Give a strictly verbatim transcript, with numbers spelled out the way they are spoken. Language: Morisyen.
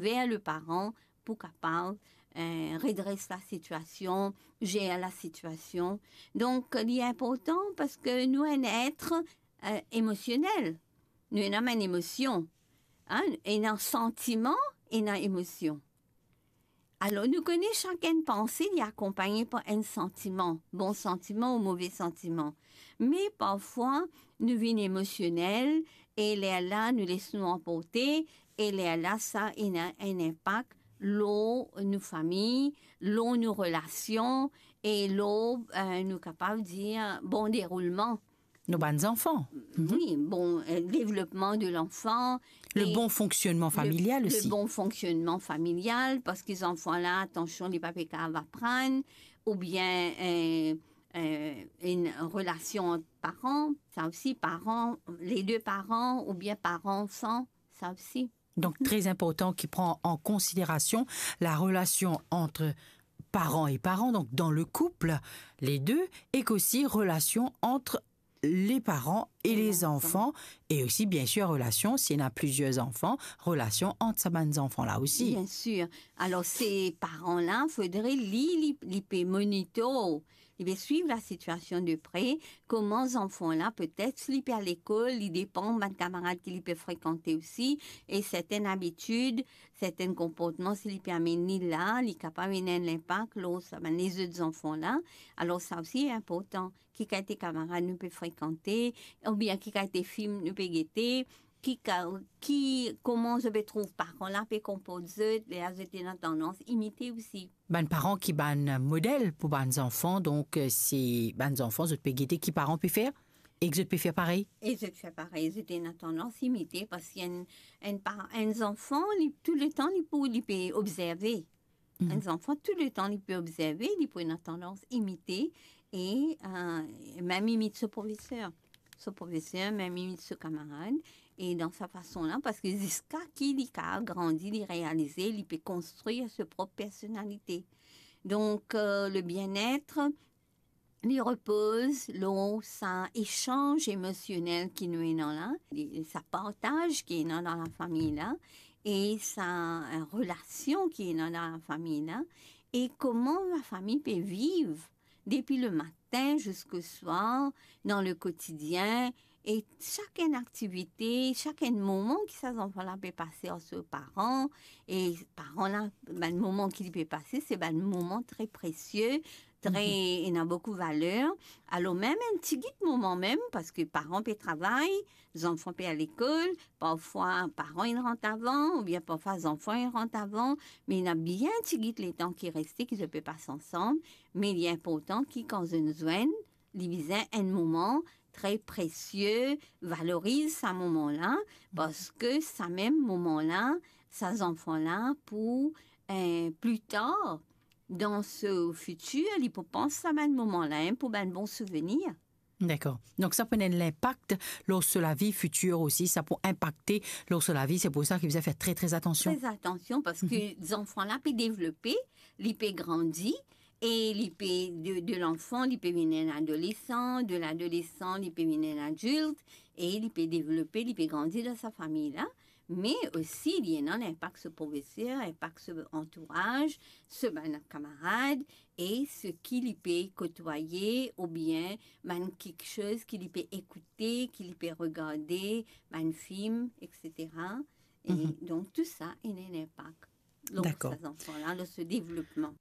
ver le paran pou kapav, eh, redres la sitiasion, zer la sitiasion. Donk, li inportan parski nou enn et, eh, emosionel. Nou ena enn emosion, hein, ena santiman, ena emosion. Alor, nou kone sak enn panse, li akonpagne par enn santiman, bon santiman ou move santiman. Me parfwa, nou vinn emosionel, e lerla, nou les nou anporte, e lerla, sa ena enn inpak lor nou fami, lor nou relasion, e lor, eh, nou kapav dir, bon deroulman. Nou bann zanfan. Mhm. Wi, bon, eh, devlopman de lanfan. Le e bon fonksionnman le, familial le osi. Bon fonksionnman familial, parski zanfan la, atansion, li pa pe kapav aprann, oubien, eh, eh, enn relasion ant paran, sa osi, paran, le de paran, oubien paran-anfan, sa osi. Donk, mhm, tre inportan ki pran an konsiderasion la relasion ant paran e paran, donk dan le koup, le de, e osi relasion ant le paran e le zanfan, e osi, biensir, relasion, si ena plizier zanfan, relasion ant sa bann zanfan la osi. Biensir. Alor, se paran la, fodre li, li, li pe monitor, li pe swiv la sitiasion de pre, kouma zanfan la, petet, si li pe al lekol, li depan bann kamarad ki li pe frekante osi, e sertenn abitid, sertenn konportman, si li pe amenn li la, li kapav ena enn inpak lor sa bann lezot zanfan la. Alor, sa osi inportan. Ki kalite kamarad nou pe frekante, oubien ki kalite fim nou pe gete, ki ka-, ki, kouma zot pe trouv paran la pe konport zot, ler zot ena tandans imite osi. Bann paran ki bann model pou bann zanfan, donk, eh, se bann zanfan, zot pe gete ki paran pe fer, e zot pe fer parey. E zot fer parey, zot ena tandans imite, parski enn, enn pa-, enn zanfan, li, tou letan, li pou, li pe obzerve. Mhm. Enn zanfan, tou letan li pe obzerve, li pou ena tandans imite e, eh, mem imit so profeser. So profeser, mem imit so kamarad. E dan sa fason la, parski ziska ki li kapav grandi, li realize, li pe konstrir so prop personalite. Donk, eh, le bien-être, li repoz lor sa esanz emosionel ki nou ena la, li, sa partaz ki ena dan lafami la, e sa, eh, relasion ki ena dan lafami la, e kouma lafami pe viv depi le matin ziska swar dan le kotidien, e sak enn aktivite, sak enn moman ki sa zanfan la pe pase ar so paran, e paran la, bann moman ki li pe pase, se bann moman tre presie, tre, mhm, ena boukou valer. Alor mem enn tigit moman mem, parski paran pe travay, zanfan pe al lekol, parfwa paran inn rant avan, oubien parfwa zanfan inn rant avan, me ena bien tigit letan ki reste, ki zot pe pas ansam, me li inportan ki kan zot inn zwenn, li bizin enn moman tre presie, valoriz sa moman la, parski sa mem moman la, sa zanfan la pou, eh, pli tar, dan so fitir, li pou pans sa bann moman la, hein, pou bann bon souvenir. Dakor. Donk sa pou ena enn inpak lor so lavi fitir osi, sa pou inpakte lor so lavi, se pou sa ki bizin fer tre, tre atansion. Tre atansion, parski, mhm, zanfan la pe devlope, li pe grandi, e li pe, de, de lanfan, li pe vinn enn adolesan, de ladolesan, li pe vinn enn adilt, e li pe devlope, li pe grandi dan sa fami la, me osi li ena linpak so profeser, inpak so antouraz, so bann kamarad, e seki li pe kotwaye, oubien bann kiksoz ki li pe ekoute, ki li pe regarde, bann fim, et cetera. E, mhm, donk, tou sa ena enn inpak lor, dakor, sa zanfan la, lor so devlopman.